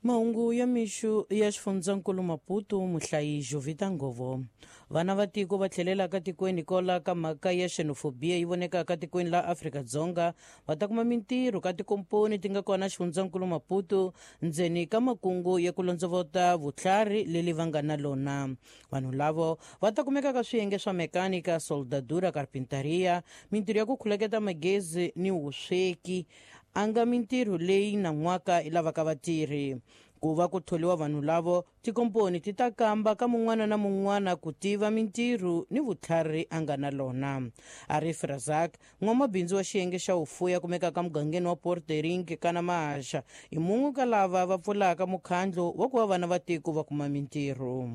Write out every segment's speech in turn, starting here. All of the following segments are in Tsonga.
Mahungu ya mixo ya xifundzankulu Maputo, muhlayi Jovita Ngovo. Vana va tiko va tlhelelaka tikweni kola ka mhaka ya xenofobia yi vonekaka tikweni la Afrika-Dzonga va ta kuma mintirho ka tikomponi ti nga kona xifundzankulu Maputo ndzeni ka makungu ya ku londzovota vutlhari leli va nga na lona. Vanhu lavo va ta kumeka ka swiyenge swa mekanika, soldadura, karpintaria, mintirho ya ku khuleketa magezi ni vusweki, a nga mintirho leyi nan'waka yi lavaka vatirhi. Ku va ku tholiwa vanhu lavo, tikomponi ti ta kamba ka mun'wana na mun'wana ku tiva mintirho ni vutlhari a nga na lona. Arif Razak, n'wamabindzu wa xiyenge xa vufuwi a kumekaka mugangeni wa Port Ering kana Mahaxa, i mun'we ka lava va pfulaka mukhandlu wa ku va vana va tiko va kuma mintirho.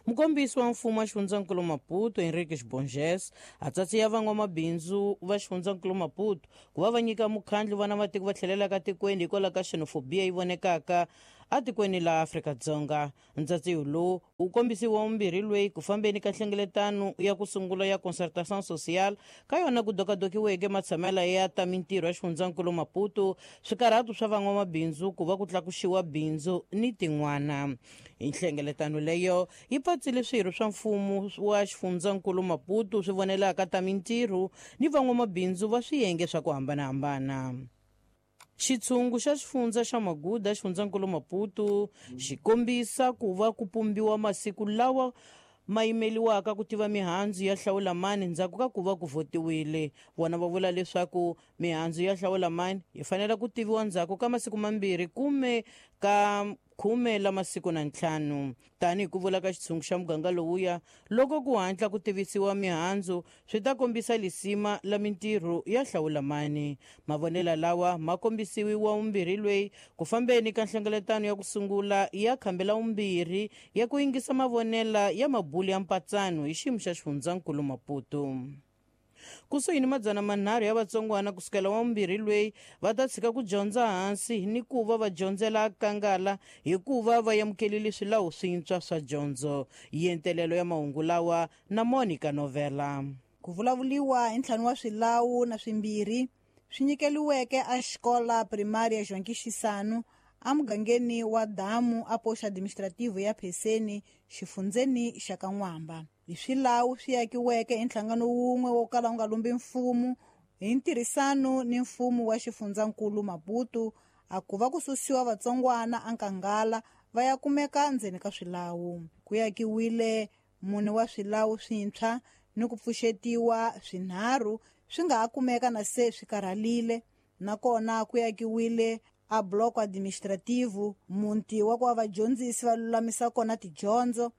Mukombisi wa mfumo wa xifundzankulu Maputo, Henrique Borges, a tsatsiya van'wamabindzu va xifundzankulu Maputo ku va va nyika mukhandlu vana va tiko va tlhelelaka tikweni hikwalaho ka xenofobia yi vonekaka atikweni la Afrika-Dzonga. Ntsatsiyo lowu wu kombisiwa vumbirhi lweyi ku fambeni ka nhlengeletano ya ku sungula ya concertation sociale, ka yona ku dokadokiweke matshamela ya ta mintirho ya xifundzankulu Maputo, swikarhato swa van'wamabindzu ku va ku tlakuxiwa bindzu ni tin'wana. Hi nhlengeletano leyo yi patsile swirho swa mfumo wa xifundzankulu Maputo swi vonelaka ta mintirho ni van'wamabindzu va swiyenge swa ku hambanahambana. Xitshungu xa xifundza xa Maguda xifundzankulu Maputo xi kombisa ku va ku pumbiwa masiku lawa ma yimeliwaka ku tiva mihandzu ya hlawulamani ndzhaku ka ku va ku votiwile. Vona va vula leswaku mihandzu ya hlawulamani yi fanele ku tiviwa ndzhaku ka masiku mambirhi kume ka 15 la masiku na ntlhanu. Tanihi ku vula ka xitshungu xa muganga lowuya, loko ku hatla ku tivisiwa mihandzu swi ta kombisa lisima la mintirho ya hlawulamani. Mavonelo lawa ma kombisiwi wa vumbirhi lweyi ku fambeni ka nhlengeletano ya ku sungula ya khambi la vumbirhi ya ku yingisa mavonela ya mabulu ya mpatsano hi xiyimo xa xifundzankulu Maputo. Kusuhi ni 300 ya vatsongwana kusukela wa vumbirhi lweyi va ta tshika ku dyondza hansi ni ku va va dyondzela kangala hikuva va amukelile swilawu swintshwa swa dyondzo. Yentelelo ya mahungu lawa na Monica Novela. Ku vulavuliwa hi ntlhanu wa swilawu na swimbirhi swi nyikeliweke a xikola primary ya João Xisano emugangeni wa Damu a posto administrativo ya Pheseni xifundzeni xa Kan'wamba. Hi swilawu swi akiweke hi nhlangano wun'we wo kala wu nga lumbi mfumo hi ntirhisano ni mfumo wa xifundzankulu Maputo, a ku va ku susiwa vatsongwana enkangala va ya kumeka ndzeni ka swilawu. Ku akiwile mune wa swilawu swintshwa ni ku pfuxetiwa swinharhu swi nga ha kumeka na se swi karhalile, nakona ku akiwile a bloco administrativo, muti wa ku va vadyondzisi va lulamisa kona tidyondzo,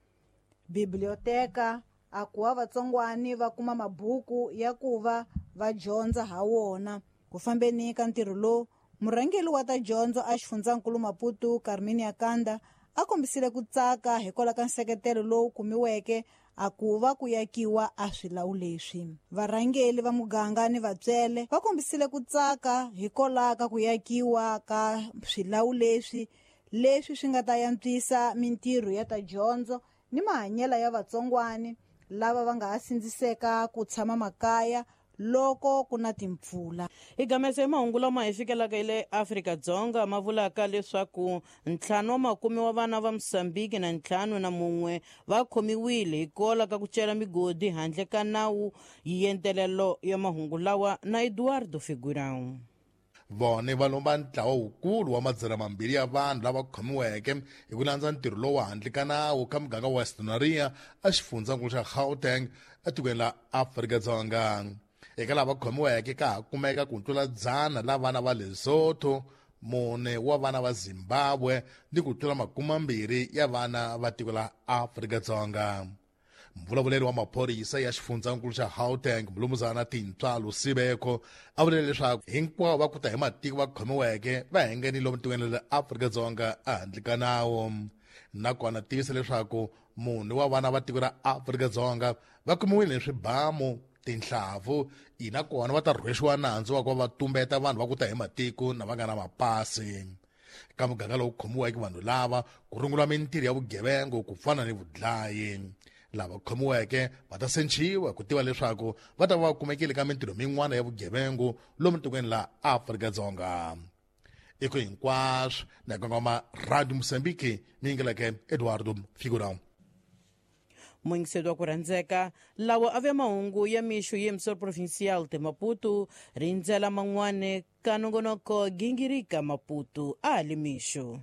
biblioteka a ku va vatsongwani va kuma mabuku ya ku va va dyondza ha wona. Ku fambeni ka ntirho lowu, murhangeri wa ta dyondzo a xifundzankulu Maputo, Carmen Akanda, a kombisile ku tsaka hikwalaho ka nseketelo lowu kumiweke a ku va ku yakiwa a swilawu leswi. Varhangeri va muganga ni vatswele va kombisile ku tsaka hikwalaho ka ku yakiwa ka swilawu leswi, leswi swi nga ta antswisa mintirho ya ta dyondzo ni mahanyelo ya vatsongwani lava va nga ha sindziseka ku tshama makaya loko ku na timpfula. Hi gamese hi mahungu lama hi fikelaka hi le Afrika-Dzonga ma vulaka leswaku 5 wa makume wa vana va Mozambique na 51 va khomiwile hi kola ka ku cela migodi handle ka nawu. Yentelelo ya mahungu lawa na Eduardo Figurão. Vone va lomba ntlawa wukulu wa 200 ya vanhu lava khomiweke hi ku landza ntirho lowu handle ka nawu ka muganga wa Western a xifundzankulu xa Gauteng etikweni la Afrika-Dzonga. Eka lava khomiweke ka ha kumeka ku tlula 100 la vana va Lesotho, 4 wa vana va Zimbabwe ni ku tlula 20 ya vana va tiko la Afrika-Dzonga. Mvulavuleri wa maphorisa ya xifundzankulu xa Gauteng, Mlumuzana Tintswalo Sibeko, a vule leswaku hinkwavo va kuta hi matiko va khomiweke va hengenile lomu tikweni ra Afrika-Dzonga ehandle ka nawu. Nakona tivisa leswaku munhu wa vana va tiko ra Afrika-Dzonga va kumiwile ni swibamu, tinhlavu, ina kona va ta rhwexiwa nandzu wa ku va va tumbeta vanhu va kuta hi matiko na va nga na mapasi. Ka muganga lowu khomiweke vanhu lava ku rungula mintirho ya vugevenga ku fana ni vudlayi. Lava khomiweke va ta senciwa ku tiva leswaku va ta va va kumekile ka mintirho min'wana ya vugevenga lomu tikweni la Afrika-Dzonga. I ku hinkwaswo na kongoma Radio Mozambique mi yingeleke Eduardo Figurão. Muyingiseri wa ku rhandzeka, lawa a ve mahungu ya mixo ya emissora provincial de Maputo. Rindzela man'wana ka nongonoko Gingirika Maputo a ha le mixo.